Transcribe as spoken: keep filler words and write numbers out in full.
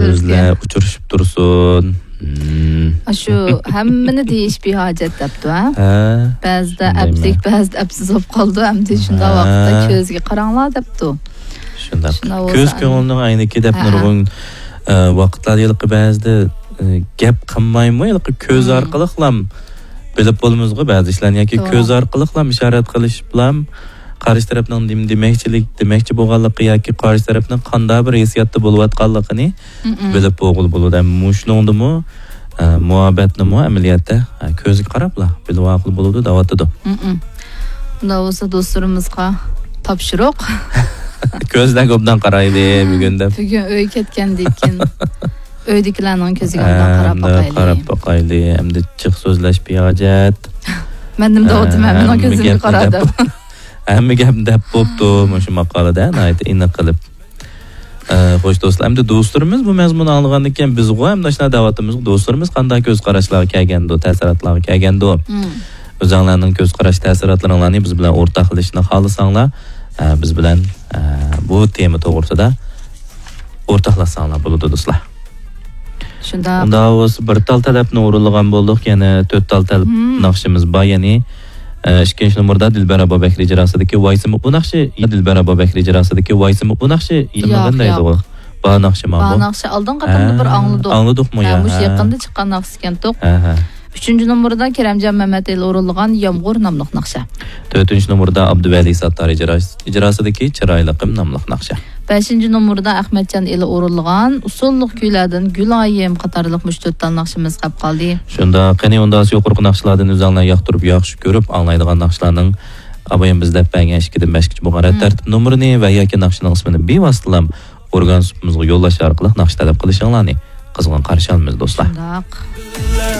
كۆزلەر ئۇچرىشىپ تۇرسۇن. مم. ئاشۇ ھەممىنى دېيىش بىھاجەت دەپتۇ، ھە؟ ھە. بەزىدە شۇندايمۇ؟ ئەپلىك، بەزىدە ئەپسىز بولۇپ قالىدۇ. ئەمدى شۇنداق ھە. ۋاقىتتا كۆزگە قاراڭلار دەپتۇ. شۇنداق. شۇنداق كۆز بولسا كۆڭۈلنىڭ ئەينىكى دەپ ھە، ھە. نۇرغۇن، ئە، ۋاقىتلاردا ھېلىقى بەزىدە، ئە، گەپ قىلمايمۇ، ھېلىقى كۆز مم. ئارقىلىقلام بىلىپ بولىمىزغۇ بەزى ئىشلارنى ياكى توغرا. كۆز ئارقىلىقلام ئىشارەت قىلىشىپلام قارشى تەرەپنىڭ نېمە دېمەكچىلىك، دېمەكچى بولغانلىقى ياكى قارشى تەرەپنىڭ قانداق بىر ھېسسىياتتا بولۇۋاتقانلىقىنى مم. بىلىپ بولغىلى بولىدۇ. ھەم مۇشۇنىڭدىمۇ، ئە، مۇھەببەتنىمۇ ئەمەلىيەتتە، ئە، كۆزگە قاراپلا بىلىۋالغىلى بولىدۇ دەۋاتىدۇ. مم. ئۇنداق بولسا دوستلىرىمىزغا تاپشۇرۇق. كۆزلەرگە ئوبدان قارايلى بۈگۈن دەپ. بۈگۈن ئۆيگە كەتكەندىن كېيىن ئۆيدىكىلەرنىڭ كۆزىگە ئوبدان قاراپ ئەمدى باقايلى. قاراپ باقايلى. ئەمدى جىق سۆزلەش بىھاجەت. مەن نېمە دەۋاتىمەن؟ ئە، مېنىڭ ھەممە كۆزۈمگە گەپنى قارا دەپ دەپ. ھەممە گەپنى دەپ بوپتۇ مۇشۇ ماقالىدە ناھايىتى ئېنىق قىلىپ. ئە، خوش دوستلار، ئەمدى دوستلىرىمىز بۇ مەزمۇننى ئاڭلىغاندىن كېيىن بىزغۇ ھەم ئاشۇنداق دەۋاتىمىزغۇ، دوستلىرىمىز قانداق كۆز قاراشلارغا كەلگەندۇ، تەسىراتلارغا كەلگەندۇ؟ مم. ئۆزۈڭلارنىڭ كۆز قاراش تەسىراتلىرىڭلارنى بىز بىلەن ئورتاقلىشىشنى خالىساڭلار، ئە، بىز بىلەن، ئە، بۇ تېما توغرىسىدا ئورتاقلاشساڭلار بولىدۇ، دوستلار. شۇنداق. ئۇنداق بولسا بىر تال تەلەپنى ئورۇنلىغان بولدۇق، يەنە تۆت تال تەلەپ مم. ناخشىمىز بار، يەنى، ئە، ئىككىنچى نومۇردا دىلبەر ئابابەكرى ئىجراسىدىكى ۋايسىمۇ بۇ ناخشا، دىلبەر ئابابەكرى ئىجراسىدىكى ۋايسىمۇ بۇ ناخشا ياق، يېڭىلغان ياق. دەيدىغۇ. بار ناخشا بار ماۋۇ. ناخشا ئالدىنقى قېتىمدا ھە، بىر ئاڭلىدۇق. ئاڭلىدۇقمۇ ھە، يا؟ مۇشۇ ھە. يېقىندا چىققان ناخشا ئىكەنتۇق. ھە، ھە. ئۈچىنچى نومۇردا كېرەمجان مەمەتئېلى ئورۇنلىغان يامغۇر ناملىق ناخشا. تۆتىنچى نومۇردا ئابدۇۋەلى ساتتار ئىجرا-، ئىجراسىدىكى چىرايلىقىم ناملىق ناخشا. بەشىنچى نومۇردا ئەخمەتجان ئېلى ئورۇنلىغان ئۇسسۇللۇق كۈيلەردىن گۈلايىم قاتارلىق مۇشۇ تۆت تال ناخشىمىز قاپ قالدى. شۇنداق، قېنى ئۇنداق يۇقىرىقى ناخشىلاردىن ئۆزۈڭلار ياقتۇرۇپ، ياخشى كۆرۈپ ئاڭلايدىغان ناخشىلارنىڭ ئابايام بىز دەپ بەرگەن ئىككىدىن بەشكىچە بولغان رەت مم. تەرتىپ نومۇرىنى ۋە ياكى ناخشىنىڭ ئىسمىنى بىۋاسىتىلا ئورگان سۇپىمىزغا يوللاش ئارقىلىق ناخشا تەلەپ قىلىشىڭلارنى قىزغىن قارشى ئالىمىز، دوستلار. شۇنداق.